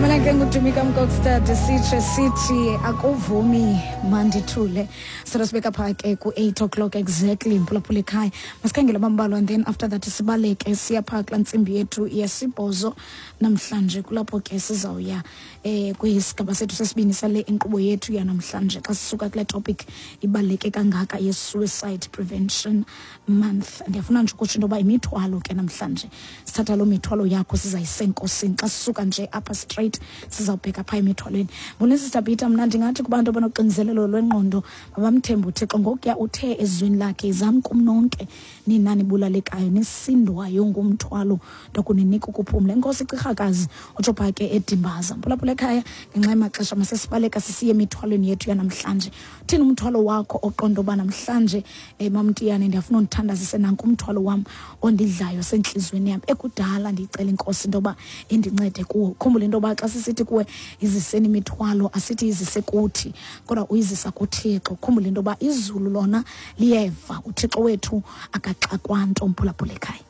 Igama lakhe nguDumika Mkokstad, sitshe sithi akuvumi mandithule. Solo sibeka phaa ke ku-8 o'clock exactly, mphulaphula ekhaya. Masikhangele abambalwa and then after that sibaleke siya phaa kulaa ntsimbi yethu yesibhozo namhlanje, kulapho ke sizawuya kwisigaba sethu sesibini sale inkqubo yethu yanamhlanje, xa sisuka kule topic ibaluleke kangaka ye-Suicide Prevention Month. Ndiyafuna nje ukutsho into yoba imithwalo ke namhlanje, sithatha loo mithwalo yakho sizayise enkosini. Xa sisuka nje apha straight sizawubheka phaa emithwalweni. Mbona Sister Peter, mna ndingathi kubantu abanoxinizelelo lwengqondo mabamthembe uThixo, ngokuya uthe ezwini lakhe, "Izani kum nonke nina nibulalekayo nisindwayo ngumthwalo, ndokuninika ukuphumla." Enkosi Cirhakazi, utsho phaa ke eDimbaza. Mphulaphula ekhaya, ngenxa yamaxesha masesibaleka sisiye emithwalweni yethu yanamhlanje. Thini umthwalo wakho oqonda uba namhlanje, mamtiyane, ndiyafuna undithandazise, nanku umthwalo wam ondidlayo sentliziyweni yam ekudala ndiyicela inkosi into yoba indincede kuwo? Khumbula into yoba xa sisithi kuwe iziseni imithwalo, asithi izise kuthi, kodwa uyizisa kuThixo. Khumbula into yoba izulu lona liyeva, uThixo wethu akaxakwa nto, mphulaphula ekhaya.